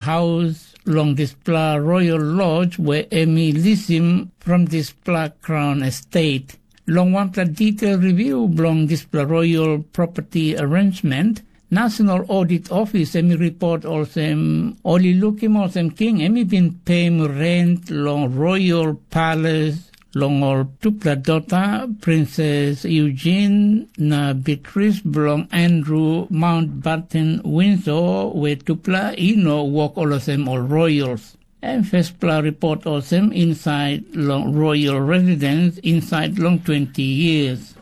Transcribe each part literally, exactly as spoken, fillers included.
haus long dispela Royal Lodge we em i lisim from dispela Crown Estate. Long wanpela detail review bilong dispela Royal Property Arrangement, National Audit Office em i report olsem, ol i lukim olsem king em i bin peim rent long Royal Palace long ol tupela dota, Princess Eugene na Beatrice bilong Andrew Mountbatten Windsor, we tupela i no wok olsem ol royals. Em firstpela report olsem inside long royal residence inside long twenty years.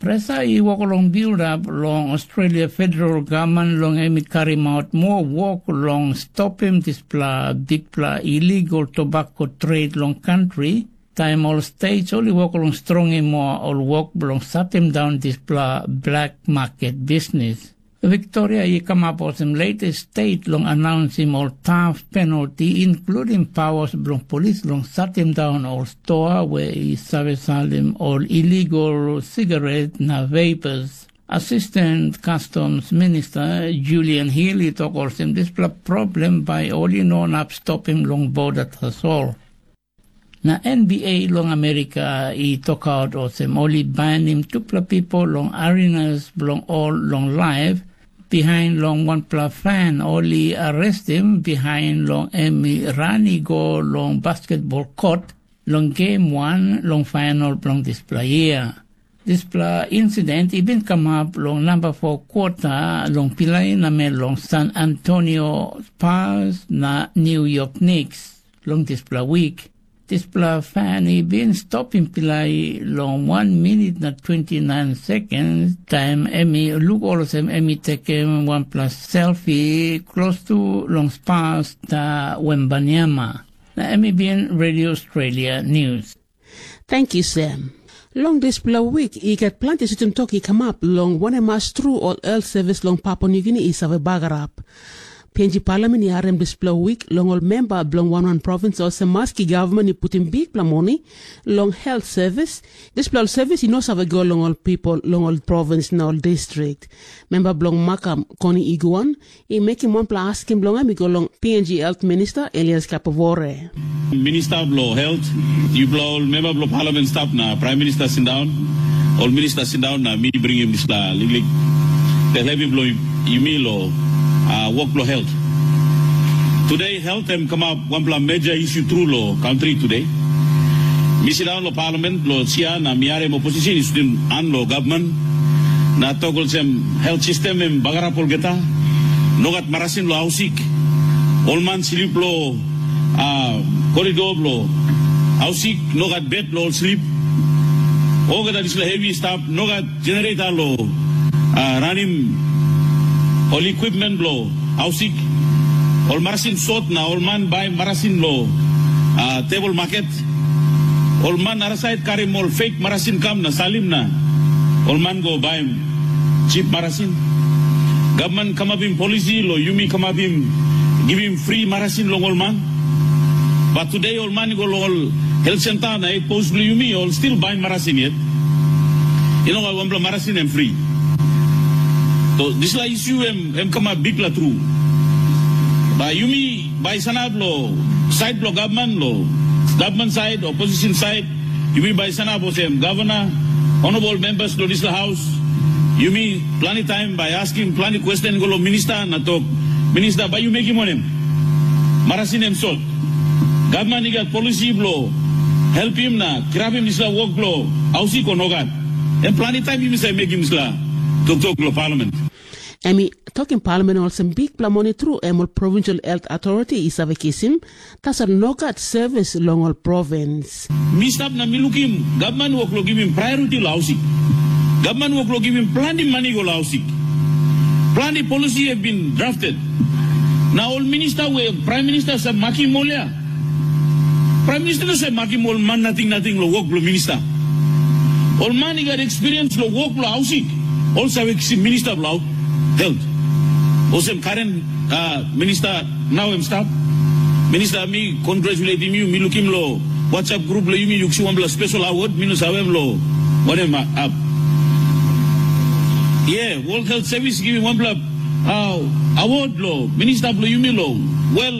Presa i wok long bild up long Australia federal government long em i karim out moa wok long stopim dispela bikpela illegal tobacco trade long country, taim ol states ol i wok long strongim moa ol wok bilong satim daun dispela black market business. Victoria i kamap olsem latest state long announsim ol tough penalty, including powers bilong polis long satim daun ol stoa we i save salim ol illegal sigaret na vapors. Assistant Customs Minister Julian Hill i tok olsem dispela problem bai ol i no inap stopim long border tasol. Na N B A long Amerika i tokaut olsem ol i bainim tupela bipo long arenas bilong ol long laip, bihain long wanpela fan ol i arestim bihain long em i ran i go long basketbol kot long gem wan long fainal bilong dispela yia. Dispela insident i bin kamap long namba fo kwota long pilai namel long San Antonio Spurs na New York Knicks long dispela wik. Dispela fan i bin stopim pilai long wan minit na twenty nine sekens taim em i luk olsem em i tekim wanpela selfi klostu long Spurs na Wembanyama. Na em i bin Radio Australia News. Thank you, Sam. Long dispela wik i gat planti sutim tok i kamap long wanem as tru ol health service long Papua Nugini i save bagarap. P N G Parliament i harim dispela wik long ol memba bilong wan wan provins olsem maski gavman i putim bikpela moni long health service, dispela ol service i no save go long ol pipel long ol provins na ol distrik. Memba bilong Makam Koni Iguan i mekim wanpela askim bilong em i go long P N G Health Minister Elias Kapavore. Minista bilong Helt, yupela ol memba bilong Parliament stap na Prime Minister sindaun, ol minista sindaun na mi bringim dispela liklik tel hevi bilong yumi long uh, wok bilong helt. Today, helt em kamap wanpela major issue tru long country today. Mi sindaun long Parliament long sia na mi harim opposition i sutim an long gavman na tok olsem, helt sistem em bagarap olgeta, nogat marasin long hausik, ol man slip long uh, koridor bilong hausik, nogat bet bilong ol slip. Olgeta dispela hevi i stap, nogat generator long uh, ranim ol equipment bilong hausik. Ol marasin sot na ol man bai marasin long uh, tebol maket. Ol man arasait karim ol fake marasin kam na salim na ol man go baim chip marasin. Gavman kamapim polisi long yumi kamapim givim fri marasin long ol man. Bat tude ol man i go long ol helt senta na hetpos bilong yumi ol stil baim marasin yet. I no gat wanpela marasin em fri. So dispela isu em em kamap bikpela tru. Bai yumi bai sanap long sait bilong gavman long gavman sait o posisen sait, yumi bai sanap olsem gavana, honorable members bilong dispela haus, yumi planti taim bai askim planti kwesten go long minista na tok, minista bai yu mekim wanem? Marasin em sot. Gavman i gat polisi bilong helpim na kirapim dispela wok bilong hausik o nogat? Em planti taim yumi save mekim dispela toktok long palament. Em i tokim palmen olsem bikpela moni tru em ol provincial health authority i save kisim, tasol nogat sevis long ol provins. Mi stap na mi lukim gavman wok long givim priority long hausik. Gavman wok long givim planti mani go long hausik. Planti polisi e bin drafted. Na ol minista we praim minista save makim ol ya, praim minista no save makim ol man nating nating long wok bilong minista. Ol man i gat ekspiriens long wok bilong hausik, ol save kisim minista bilong helt. Olsem karen uh, minista nau em stap. Minista, mi congratulatim yu, mi lukim long WhatsApp grup bilong yumi yu kisim wanpela spesal award, mi no save em long wanem ap. Ye, World Health Service givim wanpela uh, award long minista bilong yumi long Wel,